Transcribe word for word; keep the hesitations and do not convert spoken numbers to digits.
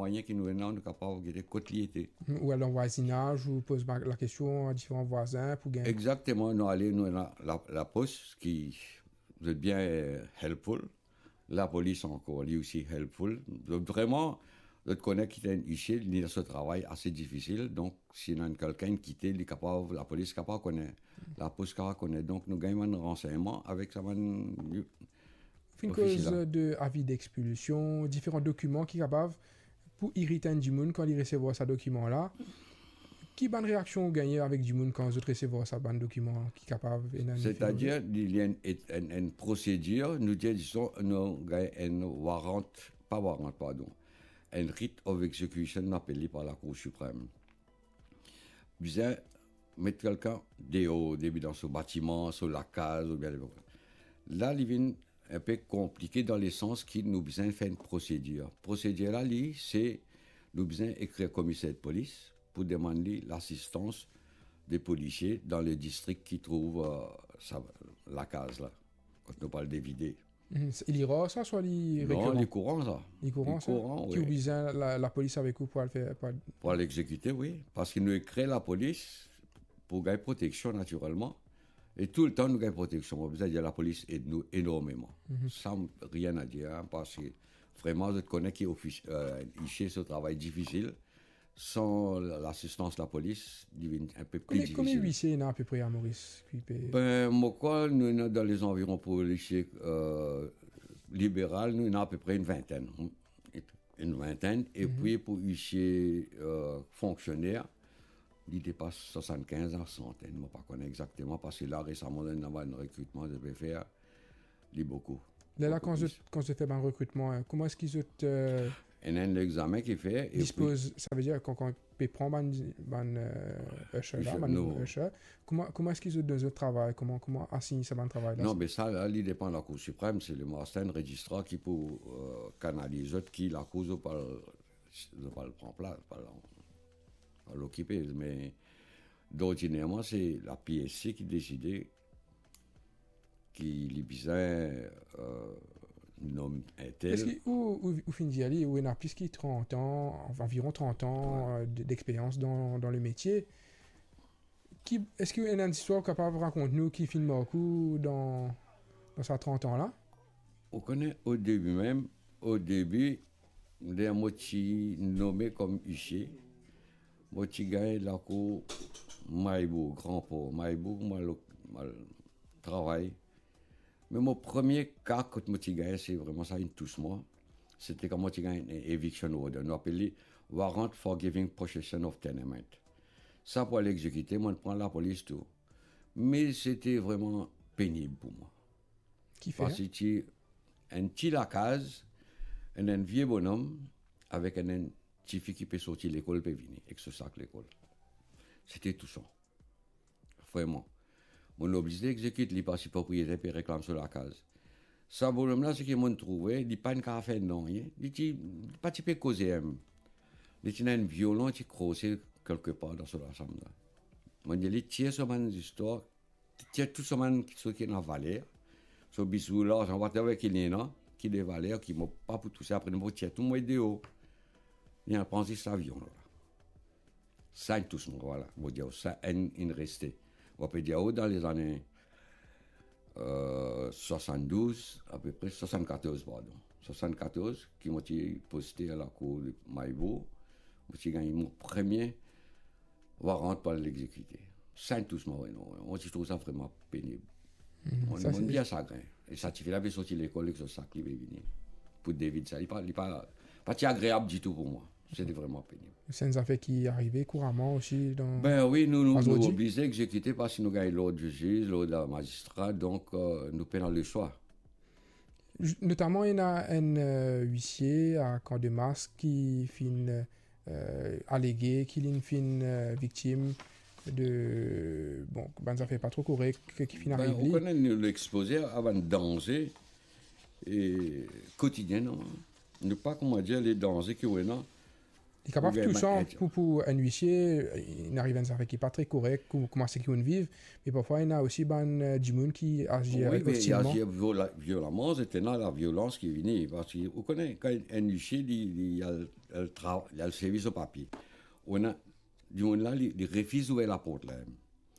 mwayin ki nou ena, nou kapav gete kot li ete. Ou al dan vwazinaz, ou poz ba-, lakestion a diferan vwazin pou gagn. Exactement, nou ale, nou ena la, lapos ki, zot bien, eh, helpful. Lapolis ankor, li osi helpful. Zot vreman, zot kone ki enn huissier, li dan so travay ase difisil. Donk, si ena enn kikenn kite, li kapav, lapolis kapav kone, lapos kapav kone. Donk, nou gagn bann ransegnman avek sa bann Finn ofisier koz la. De avi d'expulsion, diferan dokiman ki kapav pou irit enn dimoun kan li resevwar sa dokiman la. Ki bann reaksion ou gagne avek dimoun kan zot resevwar sa bann dokiman ki kapav ena enn... Setadir, li, li enn, enn, enn prosedir, nou dir, dizon, nou gagn enn warrant, pa warrant, pardon, enn writ of execution, nou apel li par Lakour Siprem. Bizin met kikenn deor, depi dan so batiman, so lakaz, oubien... La, li vinn enpe konplike dan lesans ki nou bizin fer enn prosedir. Prosedir la, li, se nou bizin ekrir komiser de polis pou demann li lasistans de polisie dan le distrik ki trouv, eh, sa, lakaz la, kot nou parl de vide. Mhm, se, li rar sa, swa li... Non, rekiran? Li kouran sa. Li kouran sa? Li kouran, wi. Ki ou bizin la, lapolis avek ou pou al fer, pou al... Pou al exekite, wi. Parski nou ekrir lapolis pou gagn proteksion, natirelman. E toultan nou gagn proteksion. Mo bizin dir, lapolis ed nou enormeman. Mhm. Sa, rien à dire, hein, parski vreman, zot kone ki ofis-, eh, huissier, so travay difisil. San lasistans lapolis, li vinn enpe pli difisil. Konbien, konbien huissier ena apepre a Moris ki pe... Ben, mo krwar nou ena dan lezanviron polisie, eh, liberal, nou ena apepre enn vintenn. Enn vintenn, epi pou huissier, eh, fonksioner, li depas swasannkinz a santenn, mo pa kone exakteman, parski la, resaman, ena bann rekritman zot pe fer, li boukou. Lerla, boukou plis. Kan zot, kan zot fer bann rekritman, eh, kouma eski zot, eh, ena enn examen ki fer, epi dispoz, savedir kan, kan pe pran bann, bann, eh, usher la, bann nouvo usher, kouma, kouma eski zot donn zot travay, kouma, kouma asign sa bann travay la? Non, be sa la, li depann Lakour Siprem, se le magistrar enn rezistrar ki pou, eh, kanaliz zot, ki lakour zot pou al, zot pou al pran plas, pou al, pou al okipe, me dordinerman, se la P S C ki deside ki li bizin, eh, nom entel. Eski ou, ou, ou finn dir li, ou ena plis ki trant an, anviron trant an, eh, de, d'experians dan, dan le metie. Ki, eski ou ena enn zistwar ou kapav rakont nou ki finn mark ou dan, dan sa trant an la? Ou kone, o debi mem, o debi, ler mo ti nome kom huissier, mo ti gagn lakour Maribourg, Gran Por, Maribourg, mo al, mo al travay. Me mo premie ka kot mo ti gagn, se vreman sa inn tous mwa. Se ti kan mo ti gagn enn eviction order. Nou apel li warrant for giving possession of tenement. Sa pou al exekite, mo pran lapolis tou. Me se ti vreman penib pou mwa. Kifer? Parski ti enn ti lakaz, enn, enn vie bonom, avek enn, enn tifi ki pe sorti lekol, pe vini ek so sak lekol. Se ti tousan. Vreman. Mo oblize exekit li parski propriyeter pe reklam so lakaz. Sa bonom la, seki mo trouve, li pa'nn kapav fer nanye. Li ti, li pa ti pe koze mem. Li ti ena enn violon, ti krose kelkepar dan so lasam la. Mo dir li, tir so bann zistwar, tir tou so bann kiksoz ki ena valer, so bizou, larzan, whatever ki li ena, ki de valer, ki mo pa pou touse, apre mo tir tou, mo met deor. Li al pran zis sa violon la. Sa inn tous mwa, vwala. Mo dir, sa inn, inn reste. Mo pe dir, o, dan lezane, eh, swasanndouz, apepre swasannkatorz, pardon. Swasannkatorz, ki mo ti poste a lakour de Maribourg, mo ti gagn mo premie warrant pou al exekite. Sa inn tous mwa, wi, non, mo ti trouv sa vreman penib. Hmm, mo, sa mo se bien sagrin. E sa tifi la pe sorti lekol ek so sak, li pe vini pou devid sa. Li pa, li pa, pa ti agreab ditou pou mwa. Se ti vreman penib. Se enn zafer ki arive kouraman osi dan... Ben wi, nou, nou, nou oblize exekite parski nou gagn lord ziz, lord mazistra, donk, eh, nou pena leswa. J-, notaman, ena enn, eh, huissier a Kan de Mars ki finn, eh, alege ki linn finn, eh, viktim de, bon, bann zafer pa tro korek ki finn ariv li. Ben, ou kone, nou expoze a bann danze, e kotidien, non? Nou pa, kouma dir, le danze ki ou ena, Li kapav Oubien, tousan ben, pou, pou enn uisie, inn ariv enn zafer ki pa tre korek, kou-, kouma seki ounn viv, me parfwa ena osi bann, eh, dimoun ki azir Wi, avek me li ostilman. azir viola-, violamman, se ena laviolans ki vini, parski ou kone, kan enn uisie, li, li al, al tra-, li al servi so papie. Ou ena dimoun la, li, li refiz ouver laport la.